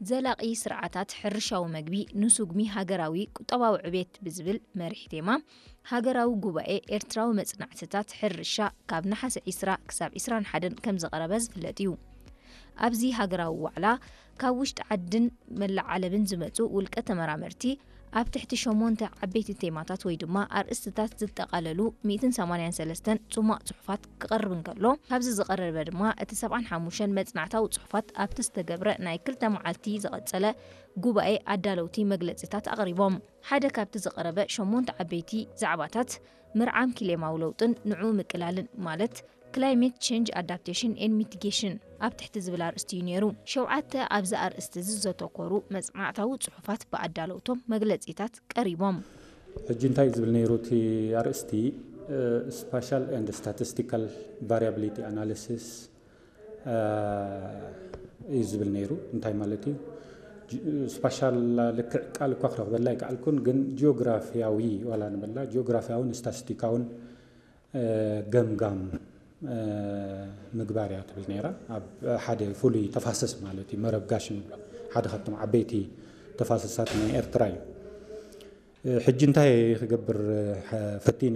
ዘላቒ ስርዓታት ሕርሻዊ መግቢ ንስጉሚ ሃገራዊ ቁጠባዊ ዕቤት ብዝብል መሪሕ ቴማ ሃገራዊ ጉባኤ ኤርትራዊ መጽናዕትታት ሕርሻ ካብ ነሓሰ ዒስራ ክሳብ ዒስራን ሓደን ከም ዝቐረበ ዝፍለጥ እዩ። ኣብዚ ሃገራዊ ዋዕላ ካብ ውሽጢ ዓድን መላእ ዓለምን ዝመጹ ውልቀ ተመራመርቲ ኣብ ትሕቲ ሸሞንተ ዓበይቲ ቴማታት ወይ ድማ ኣርእስትታት ዝጠቓለሉ ሚእትን ሰማንያን ሰለስተን ጽሟቕ ጽሑፋት ክቐርብ እንከሎ፣ ካብዚ ዝቐረበ ድማ እቲ ሰብዓን ሓሙሽተን መጽናዕታዊ ጽሑፋት ኣብቲ ዝተገብረ ናይ ክልተ መዓልቲ ዝቐጸለ ጉባኤ ኣዳለውቲ መግለጺታት ኣቕሪቦም። ሓደ ካብቲ ዝቐረበ ሸሞንተ ዓበይቲ ዛዕባታት ምርዓም ክሌማዊ ለውጥን ንዕኡ ምቅላልን ማለት Climate Change Adaptation and Mitigation ኣብ ትሕቲ ዝብል ኣርእስቲ እዩ ነይሩ። ሸውዓተ ኣብዚ ኣርእስቲ እዚ ዘተኮሩ መጽናዕታዊ ጽሑፋት ብኣዳለውቶም መግለጺታት ቀሪቦም። ሕጂ እንታይ እዩ ዝብል ነይሩ እቲ ኣርእስቲ? Spatial and Statistical Variability Analysis እዩ ዝብል ነይሩ። እንታይ ማለት እዩ? ስፓሻል ልክዕ ቃል እኳ ክረኽበላ ኣይከኣልኩን፣ ግን ጂኦግራፊያዊ ዋላ ንበላ ጂኦግራፊያውን ስታስቲካውን ገምጋም ምግባር እያ ትብል ነይራ። ኣብ ሓደ ፍሉይ ተፋሰስ ማለት እዩ፣ መረብ ጋሽ ንብሎ ሓደ ካብቶም ዓበይቲ ተፋሰሳት ናይ ኤርትራ እዩ። ሕጂ እንታይ ክገብር ፈቲኑ